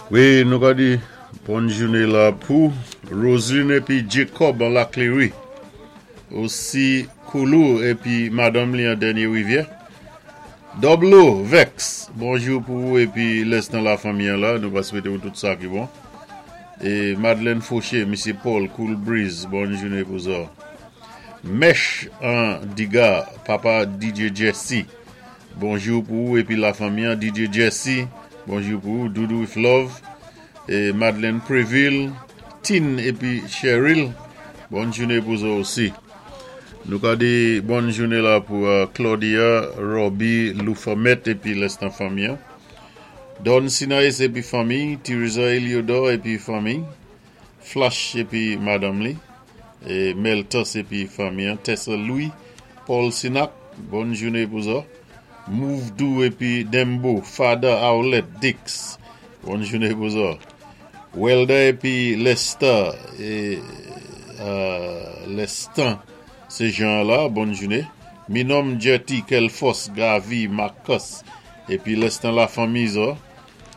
Wi, nou ka di bòn jouné la pou Roseline épi Jacob an Lakleri. Osi Koulou épi madanm li an Dènyé Rivyè. Doblo Vex, bonjou pou ou épi lèstan lafanmi an la, nou va swété ou tout sa ki bon. É Madeleine Fauché, Misyé Paul, Cool Breeze, bòn jouné pou zò. Mèch an Diga, papa DJ Jesse, bonjou pou ou épi lafanmi an. DJ Jesse, bonjou pou ou. Doudou with Love, é Madeleine Préville, Tine épi Cheryl, bòn jouné pou zò osi. Nou ka di bòn jouné la pou Claudia, Robbie, Loufamet épi lèstan fanmi an. Don Sinaïs épi fanmi, Theresa Eliodor épi fanmi, Flash épi madanm li, é Meltos épi fanmi an, Tessa Louis, Paul Sinac, bòn jouné pou zò. Move Dou épi Dembo, Fada Owlet, Dix, bòn jouné pou zò. Welda épi Lester é Lestan sé Jean la, bòn jouné. Minom Jetty, Kelfos, Gavi, Marcus épi Lestan lafanmi zò,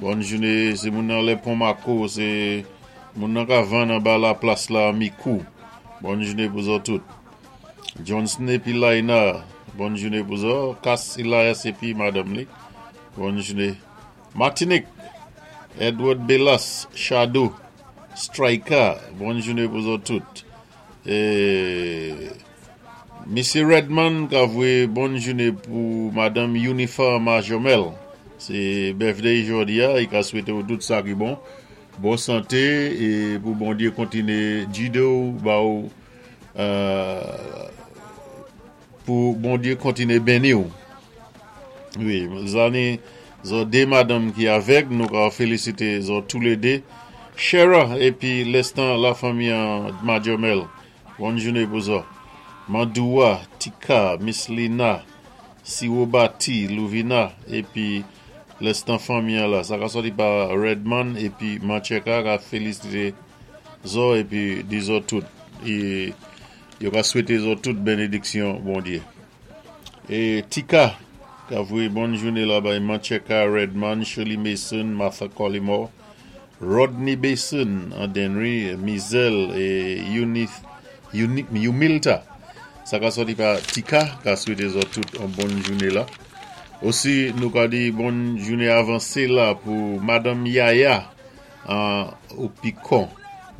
bòn jouné. Sé moun nan lè Pon Mako, sé moun nan ka vann anba laplas la Mikou, bòn jouné pou zò tout. Johnson épi Laina, bòn jouné pou zò. Kas Elias épi madanm li, bòn jouné. Martinique, Edward Belas, Shadow, Striker, bòn jouné pou zò tout. É Misyé Redman ka voyé bòn jouné pou madanm Unifa Majomel. Sé birthday jòdi a, i ka swété ou tout sa ki bon, bon santé é pou Bondyé kontiné gidé ou, ba ou pou Bondyé kontiné benni ou. Wi, zanni zò dé madanm ki avèg, nou ka félisité zò toulédé. Shera épi lèstan lafanmi an Majomel, bòn jouné pou zò. Mandoua, Tika, Miss Lina, Siwobati, Louvina épi lèstan fanmi an la. Sa ka sòti pa Redman épi Mancheka ka félisité zò épi di zò tout. É yo ka swété zò tout benediksyon Bondyé. É Tika ka voyé bòn jouné la bay Mancheka, Redman, Shirley Mason, Martha Collymore, Rodney Basin an Dennery, Mizel é Eunice, Yumilta. Sa ka sòti pa Tika ka swété zò tout an bòn jouné la. Osi nou ka di bòn jouné avansé la pou Madanm Yaya an Opikon.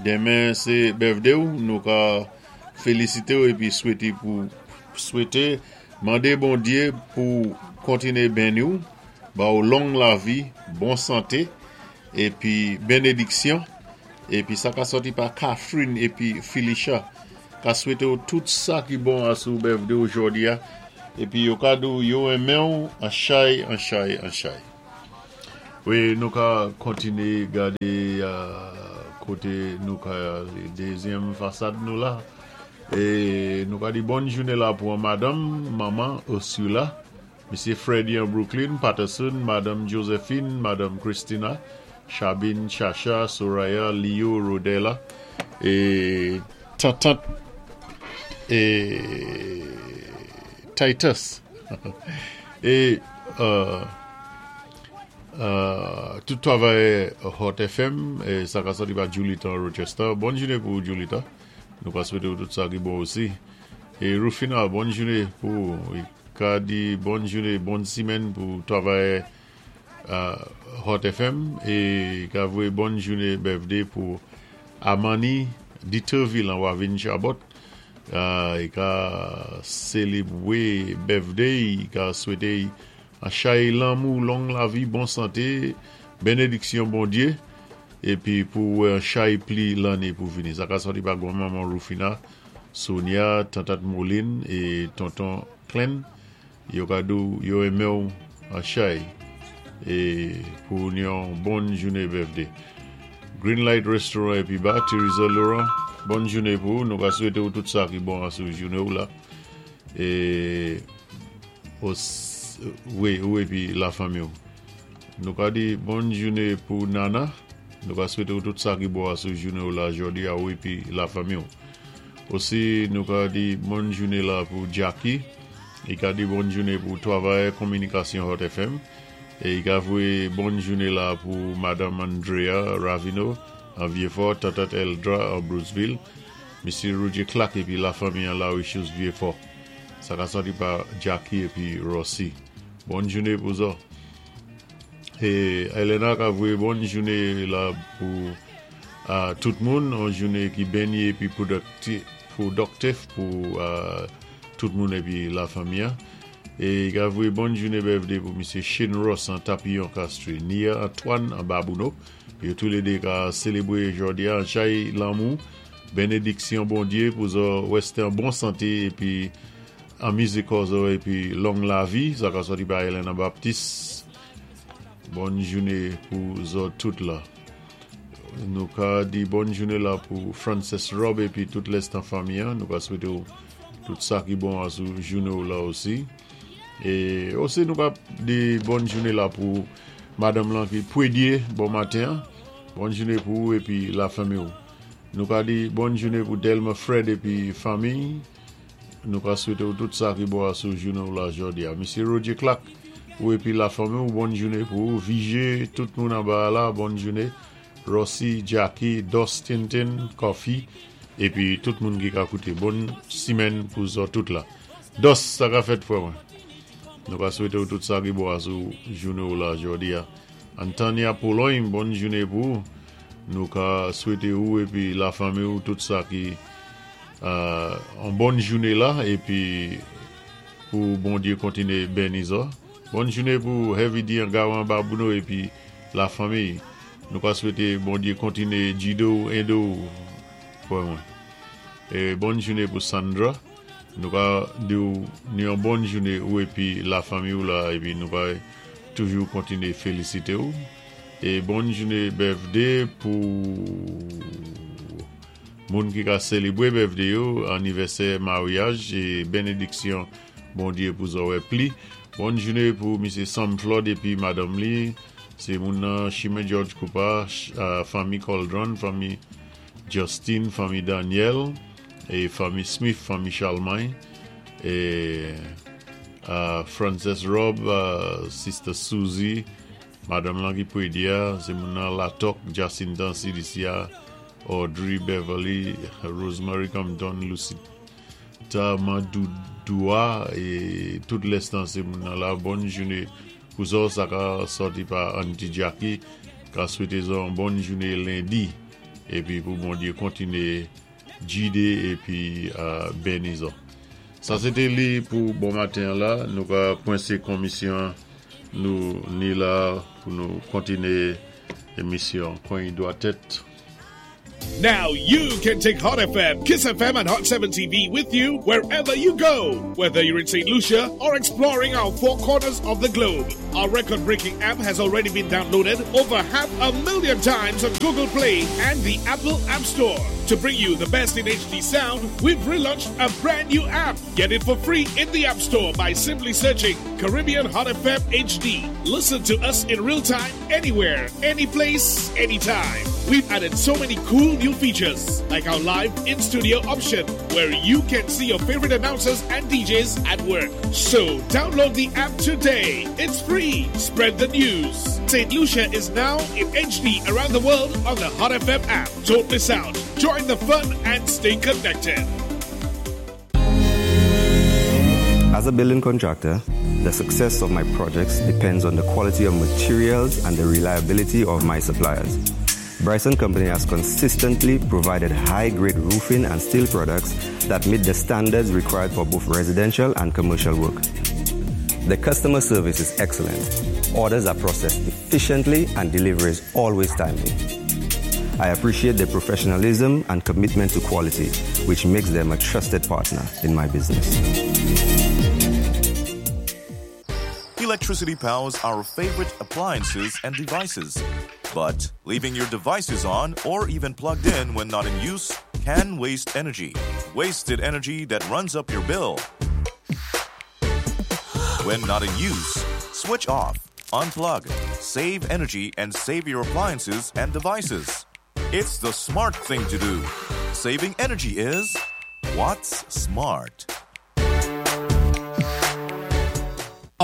Denmen sé birthday ou, nou ka félisité ou épi swété pou swété mandé Bondyé pou kontiné benni ou, ba ou long lavi, bon santé épi benediksyon. Épi sa ka sòti pa Catherine épi Felicia ka swété ou tout sa ki bon asou birthday ou jòdi a épi yo ka di ou yo renmen ou an chay an chay an chay. Wi, nou ka kontiné gadé koté nou ka dézyèm fasad nou la é nou ka di bòn jouné la pou an madanm manman Ursula, Misyé Freddy an Brooklyn, Patterson, madanm Josephine, madanm Christina, Chabine, Chacha, Soraya, Leo, Rodela é tantant é Titus é tout travayè Hot FM, sa ka sòti pa Julita an Rochester. Bòn jouné pou ou Julita. Nou ka swété ou tout sa ki bon osi. É Rufina, bòn jouné pou ou. Ka di bòn jouné, bòn simèn pou travayè Hot FM é ka voyé bòn jouné birthday pou Amani Deterville an Wavin Chabot. I ka sélébwé birthday, i ka swété an chay lanmou, long lavi, bon santé, benediksyon Bondyé épi pou wè an chay pli lanné pou vini. Sa ka sòti pa gwan manman Rufina, Sonia, tantat Moline é tonton Clen. Yo ka di w yo renmen w an chay é pou yon bon jouné birthday. Green Light Restaurant épi Bar, Theresa Laurent, bòn jouné pou ou. Nou ka swété w tout sa ki bon asou jouné w la é wi ou épi lafanmi w. Nou ka di bòn jouné pou Nana. Nou ka swété w tout sa ki bon asou jouné w la jòdi a ou épi lafanmi w. Osi nou ka di bòn jouné la pou Jackie. Li ka di bòn jouné pou travayè kominikasyon Hot FM. É i ka voyé bòn jouné la pou Madanm Andrea Ravino an Vyéfò, Tantant Eldra an Bruceville, Misyé Roger Clark épi lafanmi an Lawichous Vyéfò. Sa ka sòti pa Jackie épi Rossy. Bòn jouné pou zò. É Elena ka voyé bòn jouné la pou tout moun, on jouné ki béni épi pwodòktif pou tout moun épi lafanmi an. É i ka voyé bòn jouné birthday pou Misyé Shane Ross an Tapiyon Castries, Nia Antoine an Babouno. Yo toulédé ka sélébwé jòdi a an chay lanmou, bénédiksyon Bondyé pou zò wèsté an bon santé épi anmizé kò zò épi long lavi. Sa ka sòti pa Elena Baptiste. Bòn jouné pou zò tout la. Nou ka di bòn jouné la pou Frances Rob épi tout lèstan fanmi an. Nou ka swété ou tout sa ki bon asou jouné ou la osi. É osi nou ka di bòn jouné la pou madanm lan ki pwédyé bon maten an. Bòn jouné pou ou épi lafanmi ou. Nou ka di bòn jouné pou Delma Fred épi fanmi. Nou ka swété ou tout sa ki bon asou jouné ou la jòdi a. Misyé Roger Clark ou épi lafanmi ou bòn jouné pou ou. Vijé tout moun anba a la bòn jouné. Rossy, Jackie, Dos Tintin, Coffee épi tout moun ki ka kouté. Bòn simèn pou zò tout la. Dos, sa ka fèt frè mwen? Nou ka swété ou tout sa ki bon asou jouné ou la jòdi a. Antanya Pologne, bòn jouné pou ou. Nou ka swété ou épi lafanmi ou tout sa ki on bòn jouné la épi pou Bondyé kontiné béni zò. Bòn jouné pou Heavy D an Gawan Babouno épi lafanmi. Nou ka swété Bondyé kontiné jidé ou, édé ou frè mwen. É bòn jouné pou Sandra. Nou ka di ou ni yon bòn jouné ou épi lafanmi ou la épi nou ka toujou kontiné félisité ou. É bòn jouné birthday pou moun ki ka sélébwé birthday yo, anivèsè maryaj é bénédiksyon Bondyé pou zò wè pli. Bòn jouné pou Misyé Sam Flood épi madanm li. Sé moun nan Chimen George Coupa, fanmi Coldron, fanmi Justin, fanmi Daniel, é fanmi Smith, fanmi Charlemagne, é Frances Rob, Sister Suzy, madanm lan ki pwédyé a, sé moun nan Latòk, Jacinta Cilicia, Audrey Beverly, Rosemary Compton, Lucita Mandoudou é tout lèstan sé moun nan la. Bòn jouné pou zò sa ka sòti pa Aunty Jackie ka swété zò yon bòn jouné lendi épi pou Bondyé kontiné jidé épi béni zò. Sa sé té li pou bon maten an la nou ka kwensé konmisyon nou ni la pou nou kontiné émisyon Kwen Dwatèt. Now you can take Hot FM, Kiss FM, and Hot 7 TV with you wherever you go. Whether you're in St. Lucia or exploring our four corners of the globe. Our record breaking app has already been downloaded over 500,000 times on Google Play and the Apple App Store. To bring you the best in HD sound, we've relaunched a brand new app. Get it for free in the App Store by simply searching Caribbean Hot FM HD. Listen to us in real time, anywhere, any place, anytime. We've added so many cool new features, like our live in studio option, where you can see your favorite announcers and DJs at work. So download the app today. It's free. Spread the news. St. Lucia is now in HD around the world on the Hot FM app. Don't miss out. Join the fun and stay connected. As a building contractor, the success of my projects depends on the quality of materials and the reliability of my suppliers. Bryson Company has consistently provided high-grade roofing and steel products that meet the standards required for both residential and commercial work. The customer service is excellent. Orders are processed efficiently and delivery is always timely. I appreciate their professionalism and commitment to quality, which makes them a trusted partner in my business. Electricity powers our favorite appliances and devices. But leaving your devices on or even plugged in when not in use can waste energy. Wasted energy that runs up your bill. When not in use, switch off, unplug, save energy, and save your appliances and devices. It's the smart thing to do. Saving energy is what's smart.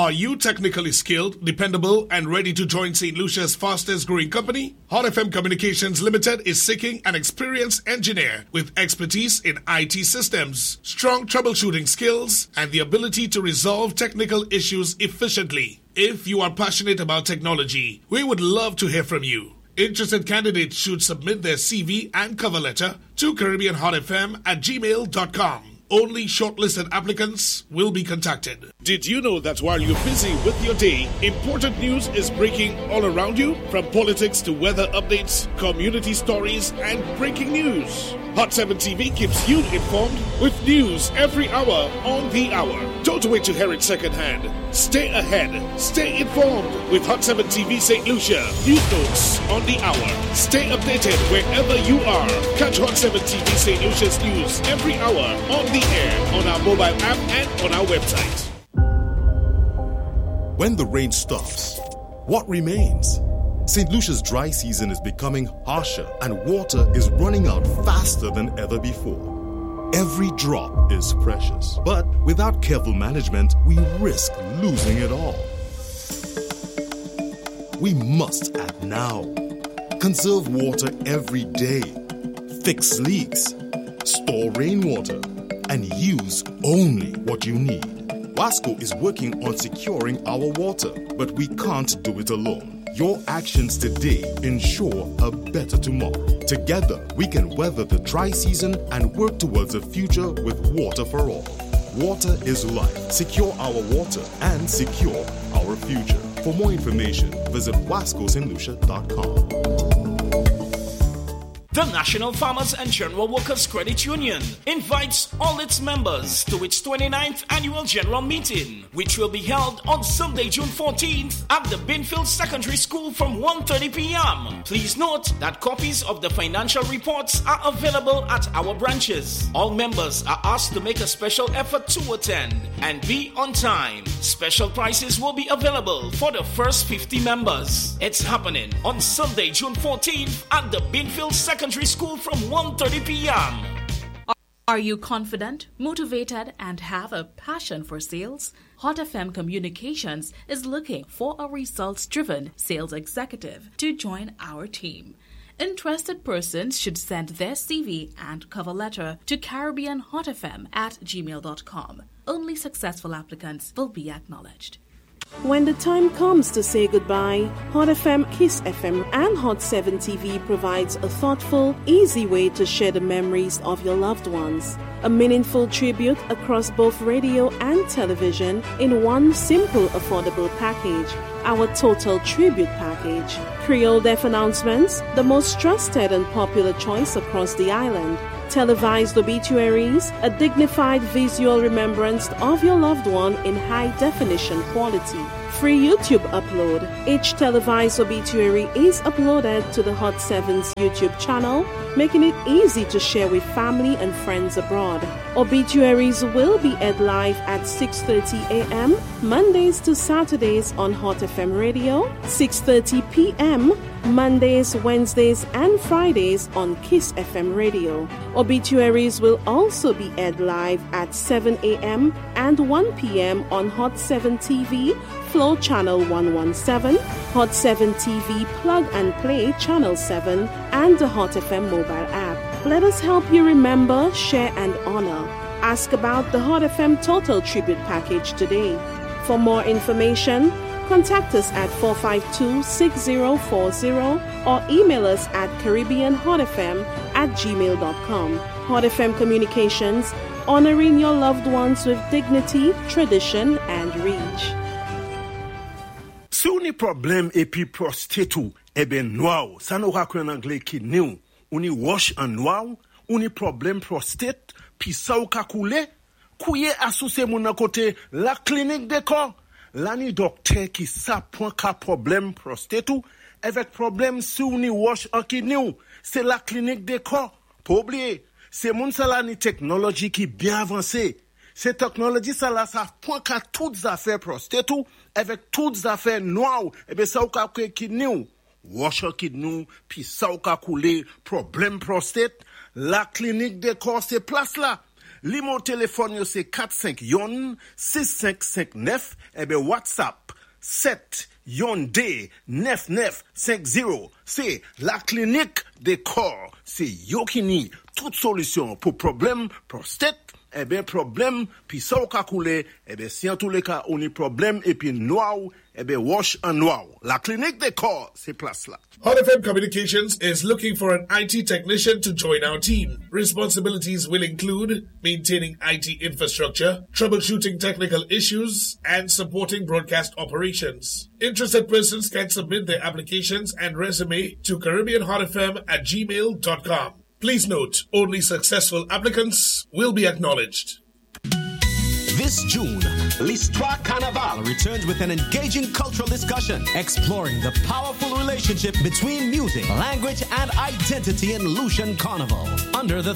Are you technically skilled, dependable, and ready to join St. Lucia's fastest growing company? Hot FM Communications Limited is seeking an experienced engineer with expertise in IT systems, strong troubleshooting skills, and the ability to resolve technical issues efficiently. If you are passionate about technology, we would love to hear from you. Interested candidates should submit their CV and cover letter to CaribbeanHotFM@gmail.com. Only shortlisted applicants will be contacted. Did you know that while you're busy with your day, important news is breaking all around you? From politics to weather updates, community stories, and breaking news. Hot 7 TV keeps you informed with news every hour on the hour. Don't wait to hear it secondhand. Stay ahead. Stay informed with Hot 7 TV St. Lucia. News notes on the hour. Stay updated wherever you are. Catch Hot 7 TV St. Lucia's news every hour on the air, on our mobile app, and on our website. When the rain stops, what remains? St. Lucia's dry season is becoming harsher and water is running out faster than ever before. Every drop is precious, but without careful management, we risk losing it all. We must act now. Conserve water every day, fix leaks, store rainwater, and use only what you need. WASCO is working on securing our water, but we can't do it alone. Your actions today ensure a better tomorrow. Together, we can weather the dry season and work towards a future with water for all. Water is life. Secure our water and secure our future. For more information, visit wascostlucia.com. The National Farmers and General Workers Credit Union invites all its members to its 29th annual general meeting, which will be held on Sunday, June 14th at the Binfield Secondary School from 1:30 p.m. Please note that copies of the financial reports are available at our branches. All members are asked to make a special effort to attend and be on time. Special prices will be available for the first 50 members. It's happening on Sunday, June 14th at the Binfield Secondary School from 1:30 p.m. Are you confident, motivated, and have a passion for sales? Hot FM Communications is looking for a results driven sales executive to join our team. Interested persons should send their CV and cover letter to CaribbeanHotFM@gmail.com. Only successful applicants will be acknowledged. When the time comes to say goodbye, Hot FM, Kiss FM, and Hot 7 TV provides a thoughtful, easy way to share the memories of your loved ones. A meaningful tribute across both radio and television in one simple, affordable package. Our Total Tribute Package. Creole Deaf announcements, the most trusted and popular choice across the island. Televised obituaries, a dignified visual remembrance of your loved one in high definition quality. Free YouTube upload. Each televised obituary is uploaded to the Hot 7's YouTube channel, making it easy to share with family and friends abroad. Obituaries will be aired live at 6:30 a.m. Mondays to Saturdays on Hot FM Radio, 6:30 p.m. Mondays, Wednesdays, and Fridays on Kiss FM Radio. Obituaries will also be aired live at 7 a.m. and 1 p.m. on Hot 7 TV, Flow Channel 117, Hot 7 TV Plug and Play Channel 7, and the Hot FM mobile app. Let us help you remember, share, and honor. Ask about the Hot FM Total Tribute Package today. For more information, contact us at 452 6040 or email us at CaribbeanHotFM@gmail.com. Hot FM Communications, honoring your loved ones with dignity, tradition, and reach. Si ou ni pwoblèm épi prostate ou, ébén nwa ou, sa nou ka kwé an anglé kidney ou, ou ni wòch an nwa ou, ou ni pwoblèm prostate, pi sa ou ka koulé, kouwé asou sé moun nan koté la klinik dékò. La ni dòktè ki sa pwan ka pwoblèm prostate ou, avèk pwoblèm si ou ni wòch an kidney ou, sé la klinik dékò. Pa oubliyé, sé moun sa la ni teknoloji ki byen avansé. Sé teknoloji sa la sa pwan ka tout zafè prostate ou, avèk tout zafè nwa ou, ébén sa ou ka kwé kidney ou. Wòch an kidney ou, pi sa ou ka koulé, pwoblèm prostate, la klinik dékò sé plas la. Niméwo téléfòn yo sé 451 6559 èbi WhatsApp 7 2 9950. Sé La Clinique des Corps. Sé yo ki ni tout solisyon pou pwoblèm pwostat, èbi pwoblèm pisa ka koulé, èbi si an tou lé ka ou ni pwoblèm épi nwa èbi wòch an nwa. La Clinique des Corps, sé plas la. Hot FM Communications is looking for an IT technician to join our team. Responsibilities will include maintaining IT infrastructure, troubleshooting technical issues, and supporting broadcast operations. Interested persons can submit their applications and resume to CaribbeanHotFM@gmail.com. Please note, only successful applicants will be acknowledged. This June, Listwa Kanaval returns with an engaging cultural discussion exploring the powerful relationship between music, language, and identity in Lucian Carnival. Under the